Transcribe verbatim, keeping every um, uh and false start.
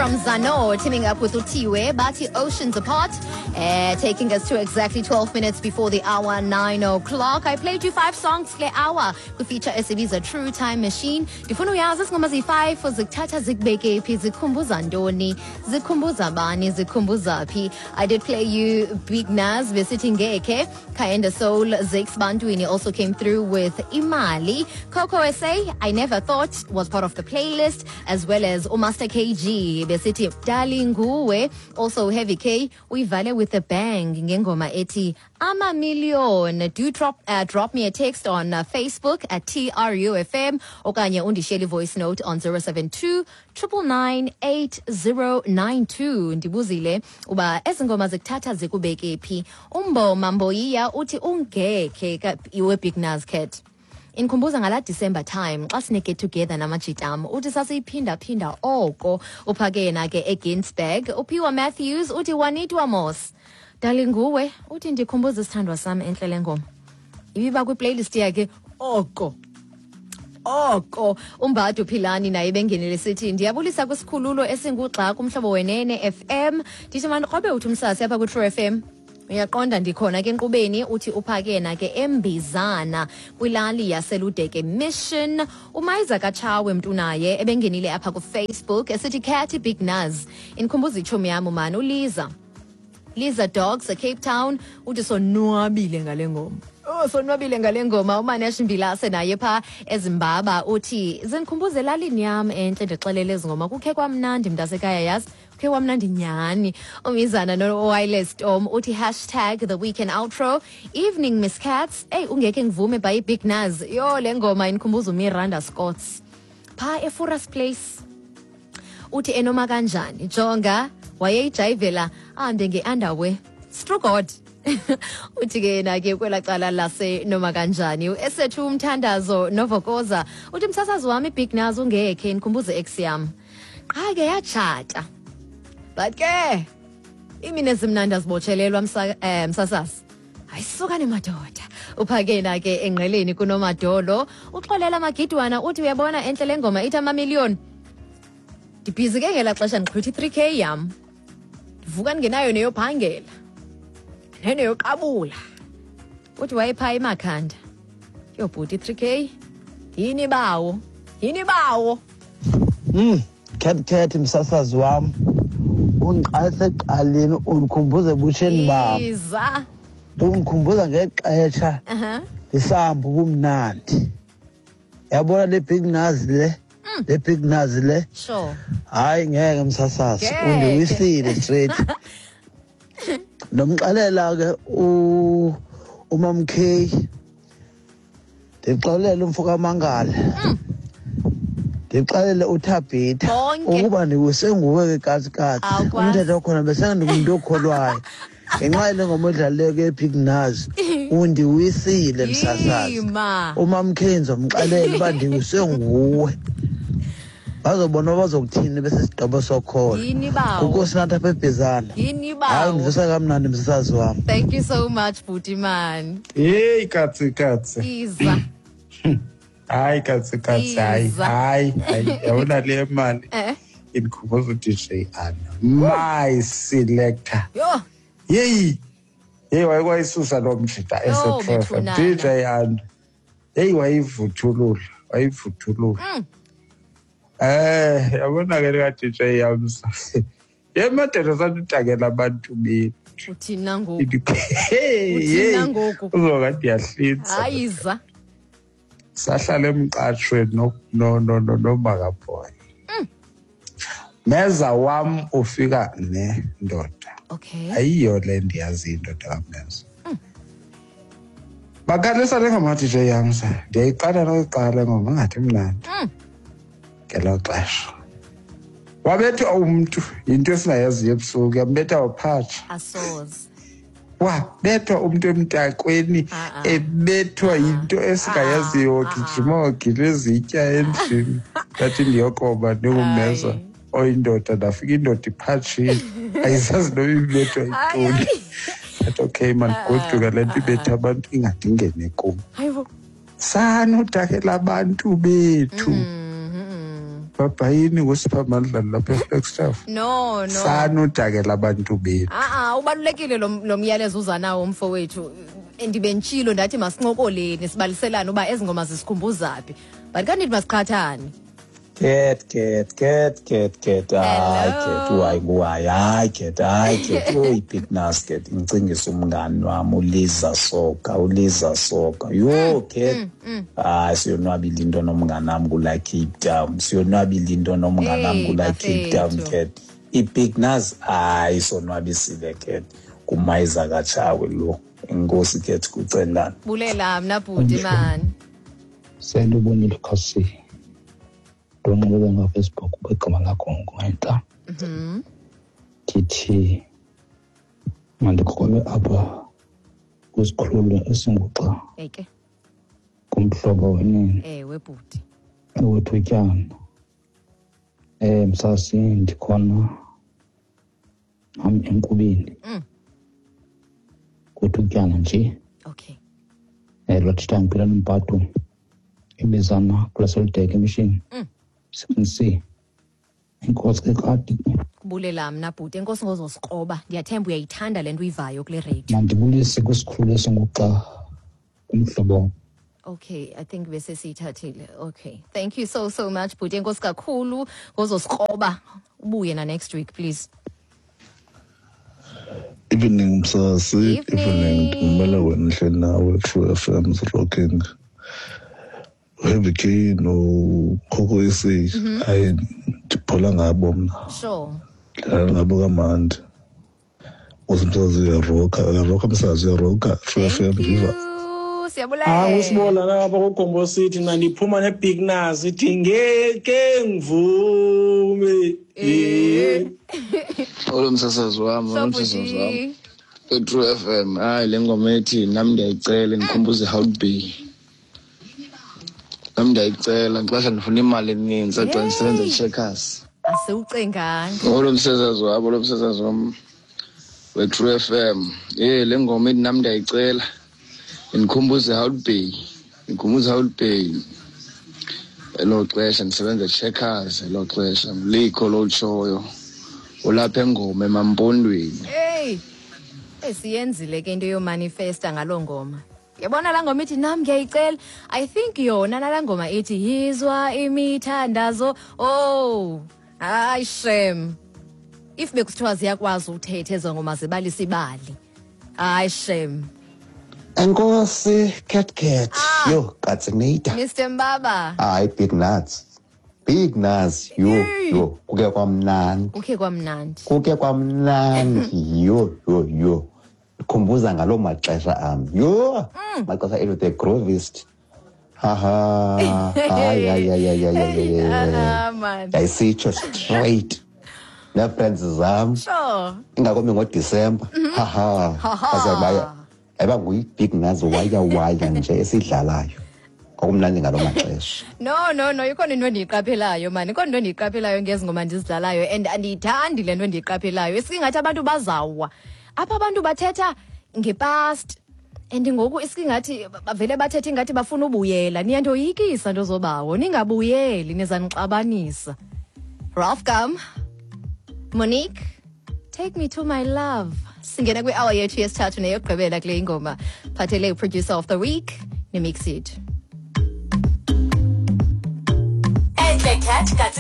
from Zano, teaming up with Utiwe, Bati Oceans Apart, uh, taking us to exactly twelve minutes before the hour, nine o'clock. I played you five songs kule hour feature esibiza True Time Machine. Ndifuna uyazi izingoma ziyi-five zikuthatha zikubeke phi, zikhumbuza ntoni, zikhumbuza bani, zikhumbuza phi. I did play you Big Nuz, besithi Ngekhe. Kaenda Soul, Zakes Bantwini also came through with Imali. Coco S A, I Never Thought, was part of the playlist, as well as uMaster K G, besithi Dalinguwe. Also Heavy K, uyivale with a bang ngengoma ethi Ama Million. Do drop, uh, drop me a text on uh, Facebook at T R U F M okanye undishiyele voice note on zero seven two nine nine nine eight zero nine two. Ndibuzile uba ezi ngoma zikuthatha zikubeke phi. Umboma Mboyiya uthi ungekhe ka- iwe Big Nuz Cat inkhumbuza ngala December time xa sine get together namajitam. Uthi sasiyiphinda-phinda oko. Uphake yena ke eGinsberg. Uphiwa Matthews uthi wanitwa mos dalinguwe. Uthi ndikhumbuza isithandwa sam entle le ngoma, ibiba kwiplaylist yakhe oko oko. Umbadu Philani naye bengenele sithi ndiyabulisa kwisikhululo esingugxa kumhlobo wenene F M. Ndithi mandikrobe uthi umsasi apha kwi-True F M, uyaqonda ndikhona ke enkqubeni. Uthi uphake yena ke eMbizana kwilali yaseLudeke Mission. Umayiza kaTshawe mntu naye ebengenile apha kuFacebook esithi Cat, Big Nuz indikhumbuza itshomi yam umani uLiza, Liza Dogs eCape Town. Uthi sonwabile ngale ngoma. Oh, sonwabile ngale ngoma. UManesh Mbilase naye pha eZimbaba uthi zindikhumbuza elalini yam entle. Ndixelele ezi ngoma kukhe kwamnandi mntasekhaya, yazi kukhe kwamnandi nyhani. Umizana no-Wireless Storm uthi hashtag the weekend outro. Evening, Miss Cats. Eyi, ungekhe ngivume by Big Nuz. Yho, le ngoma indikhumbuza uMiranda Scotts phaa eFuras Place. Uthi enoma kanjani jonga wayeyijayivela ahambe nge-underwear. True God. Uthi ke yena ke kwelaa cala lase noma kanjani. Esethu umthandazo novokoza uthi msasazi wami, iBig Nuz ungekhe ndikhumbuze ex yam, qha ke yatshata, but ke imini ezimnandi azibotshelelwa, msa, eh, msasazi. Ayisukane madoda. Uphakena ke engqeleni kunomadolo. Uxolela Magidwana uthi uyabona entle le ngoma ithi Amamiliyoni. Ndibhizi ke ngelaa xesha, ndixhwitha i-three k yam, ndivuka ndingenayo neyophangela neyoqabula. Uthi wayephaa eMakhanda. Yho bhuti, i-three k yini bawo, yini bawo. Mm, Cat Cat, msasazi wam. Undiqalise ekuqaleni, undikhumbuza ebutsheni bam. Iza. Undikhumbuza ngexesha aha ndisahamba ubumnandi. Yabona le Big Nuz le? Le Big Nuz le? Sure. Hayi, ngeke msasazi, Ngeke. undiwisile straight. Nomxelela ke u uMam K. Ndixelele umfo kaMangala. Ndixelele uThabitha Bonke. ukuba ndiwise nguwe ke katsi katsi. Awukwazi. Umthetho wakhona besengingumntu okholwayo. Ngenxa yale ngoma edlalileyo ke Big Nuz, undiwisile msasazi. Yima. UMam K ndizomxelela uba ndiwise nguwe. Bazobona bazokuthini bese sigqibo sokholo. Yini bawo. Unkosinathi apha eBhizana. Yini Hayi, bawo. undivisa kamnandi msasazi wam. Thank you so much, bhuti man. Hey katsi katsi. Iza. Hayi katsi katsi, hayi. Iza. Hayi hayi, yabona le mali eh indikhumbuza u-D J Anna. My selector. Yho. Yeyi. Hey, wayekwayisusa lo mjita Yho, ese-True F M. bethunana. D J Anna. Hey, wayivuthulula, wayivuthulula. Mm. Eh, yabona ke lika D J Yamsa. Yemadoda, sanutakela abantu bethu. Uthina ngoku? Hey, Uthina hey. ngoku? Uzokathi ndiyahlinza. Hayi, iza. Sahlala emqashweni no no no no noMakaboy. Meza wam ufika nendoda. Okay Ayiyo le ndiyaziyo indoda kaMeza. Bakhalisa le ngoma D J Yamsa. Ndiyayiqala noyiqala ngoma ngathi mnandi. Mm. Ngelo xesha. Wabethwa umntu yinto esingayaziyo ebusuku, yambetha waphatsha. Asoze. Wabethwa umntu emntakweni, Ah, ah. ebethwa yinto esingayaziyo, Ah, ah. gijima wagila izitya endlini. Ndathi ndiyokoba ndingumeza Hayi. oyindoda, ndafika indoda iphatshile, ayisazi noba ibethwa Hayi, yintoni. hayi. Ndathi okay, mandigoduka, le nto ibetha abantu ingade ingene kum. Hayibo. Sanutakela abantu bethu. Mhm. Bhabhayini ngusiphamandla lapha eFlagstaff. No, no. Sanudakela abantu bethu. Ah ah, ubalulekile lo lo myalezo uza nawo mfowethu. Ndibentshilo ndathi masincokoleni sibaliselane uba ezi ngoma zisikhumbuza phi. But kanti masiqhathane. Cat, cat, cat, cat, cat, hayi cat, hayi hayi hayi cat, hayi cat, uyi Big Nuz cat, ngicingisa umngani wami uLiza Soka, uLiza Soka. Yo cat, hayi siyonwabile into nomngani wami kula Cape Town, siyonwabile into nomngani wami kula Cape Town cat. I-Big Nuz hayi sonwabisile cat, kumayiza kaTshawe lo. Inkosi cat kucelana. Bulela mna bhuti man. Sendubonile khasi. Ndonqobe ngaFacebook igama lakho ngentla. Mhm. Ndithi mandikrobe apha kwisikhululo esinguxa. Eke. Kumhlobo wenene. Ewe bhuti. Ewethutyana. Eh msasi ndikhona am enkubeni. Mm. Kwethutyana nje. Okay. Eh lotshita ngiphila nompatho ibizana kulaseludeke emishini. Mm. C. Enkosi ke kade. Kubulela mna bhuti, enkosi ngozosikroba. Ndiyathemba uyayithanda le nto uyivayo kule radio. Mandibulise kwisikhululo esinguxa kumhlobo. Okay, I think bese siyithathile. Okay. Thank you so so much bhuti. Enkosi kakhulu ngozosikroba. Ubuye na next week please. Evening msasi, Evening. Ngimele wena hleli nawe True F M is rocking. Heavy K no Coco S A. Hayi ndiphola ngabo mna. Sure. Dlala ngabo kamandi. Usimsazi uyaroka, uyaroka msazi uyaroka True F M Thank viva. you. Siyabulela. Ah usibona lapha kuGombo City mina ndiphuma neBig Nuz ithi ngeke ngivume. Eh. Olo msasazi wami, So olo msasazi wami. bhuti. E-True F M, hayi le ngoma ethi nami ndiyayicela ngikhumbuze how to be. Nami ndiyayicela ngixesha ndifuna imali eninzi xa ndisebenza eCheckers. Asiwucenganga. Olo msasazi wami, olo msasazi wami we-True F M. Eh le ngoma ethi nami ndiyayicela ngikhumbuze how to be. Ngikhumbuze how to be. Elo xesha ndisebenza eCheckers, elo xesha likho lotshoyo. Ulapha engoma emampondweni. Hey. Esiyenzile ke into yomanifesta ngaloo ngoma. Yabona la ngoma ithi nami ngiyayicela. I think yona nala ngoma ithi yizwa imithandazo. Oh, hayi shame. If bekusithiwa ziyakwazi uthethe ezo ngoma zibalisa ibali. Hayi shame. Enkosi cat cat. Ah. Yo, Katsinita. Mister Mbaba. Hayi Big Nuz. Big Nuz yo Hey. yo kuke kwamnandi. Kuke kwamnandi. Kuke kwamnandi yo yo yo. Khumbuza ngaloo maxesha am. Yo, maxesha ethu the groovist. Ha ha. Hayi hayi hayi hayi hayi. Ah man. Yayisitsho straight. Nee-friends zam. Sure. Ingakumbi ngoDisemba. Ha ha. Ha ha. Bazabaya. Eba nguyi-Big Nuz waya waya nje esidlalayo. Kwakumnandi ngaloo maxesha. No, no, no, ikhona into endiyiqaphelayo man. Ikhona into endiyiqaphelayo ngezi ngoma ndizidlalayo and andiyithandi le nto endiyiqaphelayo. Isingathi abantu bazawa. Apha abantu bathetha ngepast and ngoku isingathi bavele bathethe ingathi bafuna ubuyela. Niyandoyikisa nto zobawo, ningabuyeli nizanixabanisa. Ralph Gum, Monique, Take Me to My Love. Singena kwi-hour yethu yesithathu neyokugqibela kule ingoma. Phathele producer of the week, nemix it. Enhle cat.